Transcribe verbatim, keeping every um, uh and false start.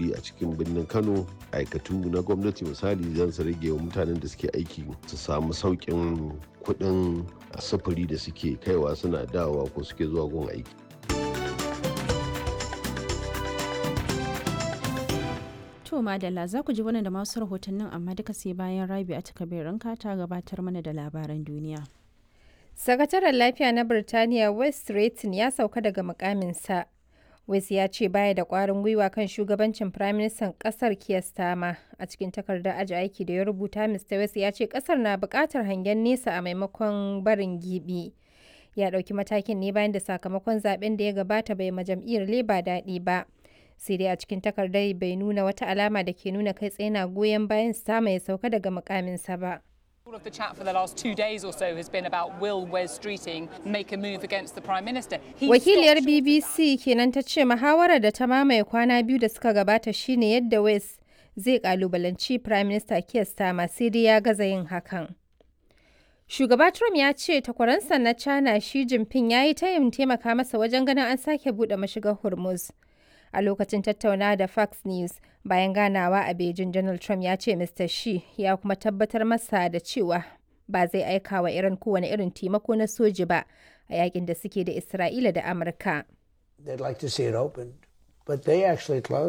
sufuri a cikin birnin Kano, aikatu na gwamnati misali zan su rage wa mutanen da suke aiki su samu sauƙin kuɗin sufuri da suke kaiwa suna dawowa ko suke zuwa gun aiki. To madalla za ku ji wannan da masu rahotannin amma duka sai bayan Rabi a takabirin ta gabatar mana da labaran duniya. Sakataren Lafiya na Birtaniya Wes Streeting ya sauka daga mukaminsa. West ya ce baya da ƙwarin gwiwa kan shugabancin Firaministan ƙasar Keir Starmer. A cikin takardar aji aiki da ya rubuta, Mr. West ya ce ƙasar na buƙatar hangen nesa a maimakon barin gibi. Ya ɗauki matakin ne bayan da sakamakon zaben da ya gabata bai ma jam'iyyar Labour daɗi ba. Sai dai a cikin takardar bai nuna wata alama da ke nuna kai tsaye na goyon bayan Starmer ya sauka daga mukaminsa ba. All of the chat for the last two days or so has been about will Wes Streeting make a move against the Prime Minister. He Wakiliyar stopped short of that. BBC kenan ta ce muhawarar da ta mamaye kwana biyu da suka gabata shine yadda West zai kalubalanci Prime Minister Keir Starmer sai dai ya gaza yin hakan. Shugaba Trump ya ce takwaransa na China Xi Jinping ya yi tayin taimaka masa wajen ganin an sake buɗe mashigar Hormuz. A lokacin tattaunawa da Fox News bayan ganawa a Beijing, Donald Trump ya ce Mr. Xi ya kuma tabbatar masa da cewa ba zai aika wa Iran kowane irin taimako na soji ba a yakin da suke da Isra'ila da Amurka. They'd like to see it opened, but they actually closed.